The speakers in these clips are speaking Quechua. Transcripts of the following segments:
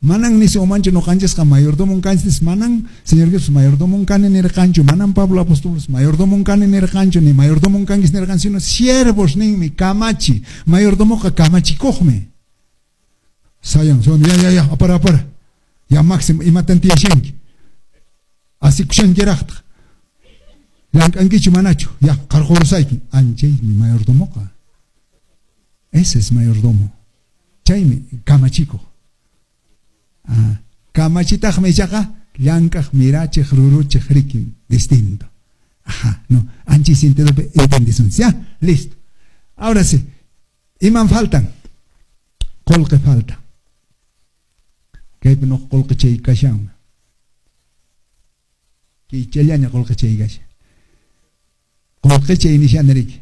Manan nisunmanchu ñuqanchisqa mayordomon kanchis, manan Señor Jesús mayordomon kani nirqanchu, manan Pablo apóstolos mayordomon kani nirqanchu, ni mayordomon kankis nirqan, sino siervos ninmi, kamachi. Mayordomoqa kamachikuqmi. Sayan, son, ya, ya, ya, apara, apara. Ya máximo, imatan tiyashanki. Asikushankiraqtaq. Llank'ankichu manachu, ya, qarqurusayki. Anchaymi mayordomoqa. Ese es mayordomo. Chaymi kamachikuq. Ah, kamachitaqmi ichaqa llank'aq, mirachiq, ruruchiq rikin, distinto. Ajá, no, anchi sentidopi entendisunchis, ya, listo. Ahora sí, iman faltan? Qolqe falta. Kaypi nuq qolqe chay kashan. Kaychallaña qolqe chay kashan. Qolqe chay nishani riki.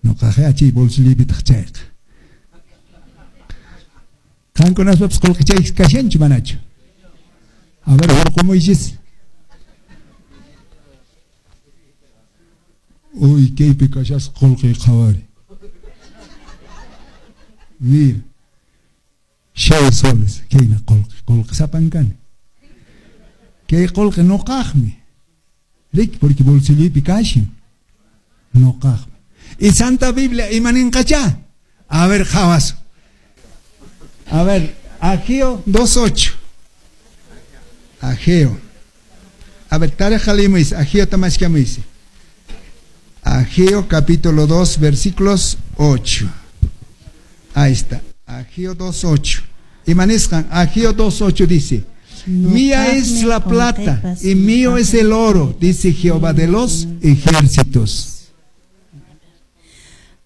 Nuqaqa chay bolsilloypitaq chayqa. Qankunaspapas qolqe chay kashanchu manachu? A ver, hurqumuychis. Uy, kaypi kashasqa qolqe qhawari. Mira. 6 soles, kayna qolqe, qolqe sapan kani. Kay qolqe nuqaqmi. Riki, porque bolsilloypi kashan. Nuqaqmi. Y Santa Biblia imaninqachá? A ver, qhawasun. A ver, Ageo 2.8. Ageo. A ver, tareja leemuis, Ageo tamashkamuis. Ageo capítulo 2, versículos 8. Ahí está. Ageo 2.8. Imanisqan, Ageo 2.8 dice: mía es la plata y mío es el oro, dice Jehová de los ejércitos.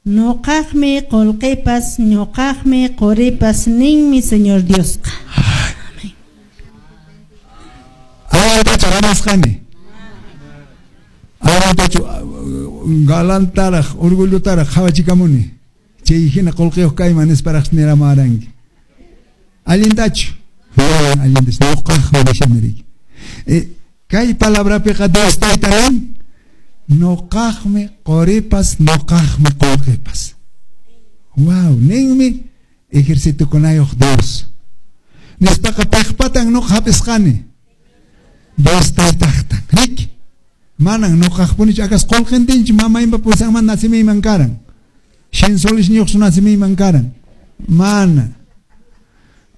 Ñuqaqmi qolqepas, ñuqaqmi qoripas, ninmi Señor Diosqa. Amén. Awantachu ramasqani. Awantachu galantaraq, orgullotaraq qhawachikamuni. Chay hina qolqeyuq kayman nisparaq niramaranki. Allintachu. Allintachu. Ñuqaqmi nishani riki. Kay palabrapiqa Dios tayta nin, ñuqaqmi qoripas, ñuqaqmi qolqepas. Wow, ninmi ejercitokunayuq Dios. Nispaqa piqpatan ñuqa hap'isqani. Dios taytaqtan. Riki. Manan ñuqaqpunichu akas qolqentinchu mamaypa pusanman nacimiyman karan. 100 soles ñuqsu nacimiyman karan. Mana.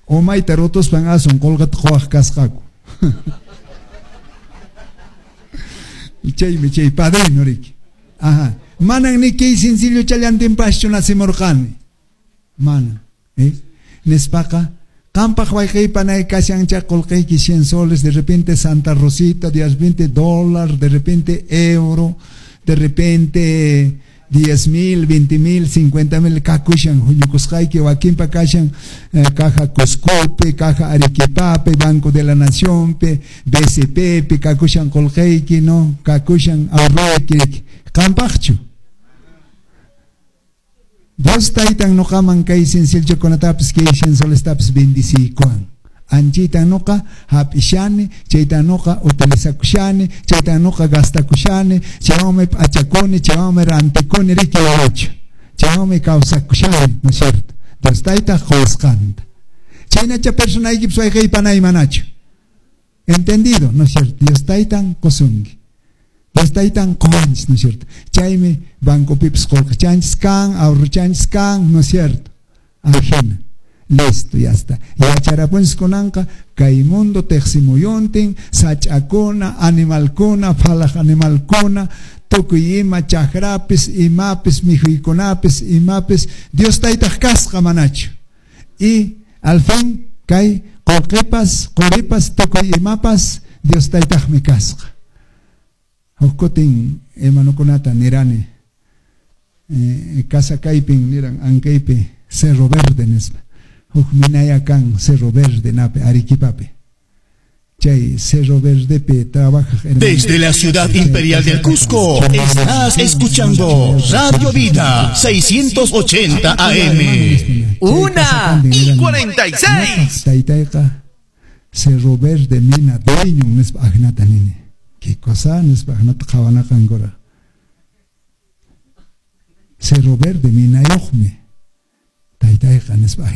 Umayta rutuspan asun qolqeta quwaq kasqaku. Chaymi chay padrino riki. Ajá. Manan ni kay sencillo challantinpaschu nacimurqani. Manan. Nispaqa qampaq wayqiypa nay kashan chay qolqeyki 100 soles, de repente Santa Rosita, de repente dólar, de repente euro, de repente 10,000, 20,000, 50,000 kakushan huñukusqayki, wakinpa kashan, caja Cuscope, caja Arequipape, Banco de la Naciónpe, BCP, kakushan qolqeyki, no, kakushan ahorroyki, qampaqchu. Dios taytan nuqaman kay sencillokunatapis, kay 100 solestapis bendiciykuwan. Anchaytan nuqa hap'ishani, chaytan nuqa utilizakushani, chaytan nuqa gastakushani, chaywanmi p'achakuni, chaywanmi rantikuni, riki wawachu. Chaywanmi kawsakushani, ¿no es cierto? Dios tayta qusqanta. Chaynacha personaykipis wayqiypanay manachu. Entendido, ¿no es cierto? Dios taytan qusunki. Dios taytan quwanchis, ¿no es cierto? Chaymi bancopipis qolqechanchis kan, ahorrochanchis kan, ¿no es cierto? Ajena. Listo, ya está. Yacharapunchis kunanqa kay mundo teqsimuyuntin, sach'akuna, animalkuna, phalaq animalkuna, tukuy ima chakrapis, imapis, mikhuykunapis, imapis, Dios taytaq kasqa manachu. Y al fin kay qolqepas, qoripas, tukuy imapas, Dios taytaqmi kasqa. Huk kutin hermanokunata nirani, casa kaypin niran ankaypi Cerro Verde nispa. Huk minaya kan Cerro Verde nape Arequipape. Chay Cerro Verdepe trabaja hermano. Desde la ciudad imperial del Cusco estás escuchando Radio Vida 680 AM. 1:46. Taytayqa Cerro Verde mina dueño nispa ajnata nini. ¿Qué cosa nispa ajnata qhawanaqankura? Cerro Verde minayuqmi. Taytayqa nispa.